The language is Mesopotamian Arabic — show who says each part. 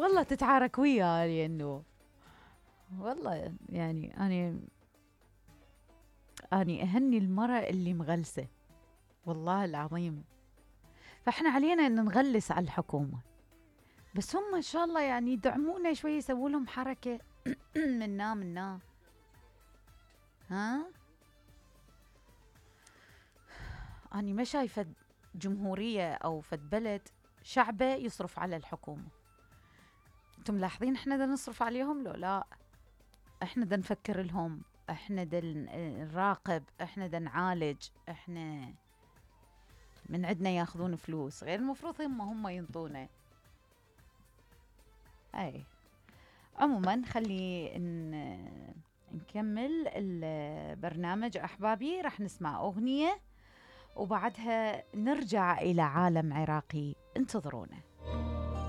Speaker 1: والله تتعارك وياي انه والله يعني اني اهني المرأة اللي مغلسة، والله العظيم. فاحنا علينا ان نغلس على الحكومة، بس هم ان شاء الله يعني يدعمونا شوي، يسووا لهم حركة منا ها. اني ما شايفة جمهورية او فد بلد شعبه يصرف على الحكومة. انتم ملاحظين احنا دا نصرف عليهم لو لا؟ احنا دا نفكر لهم، احنا دا نراقب، احنا دا نعالج، احنا من عندنا ياخذون فلوس، غير المفروض هم ينطونا. اي عموما خلي نكمل البرنامج احبابي. راح نسمع اغنية وبعدها نرجع الى عالم عراقي، انتظرونا.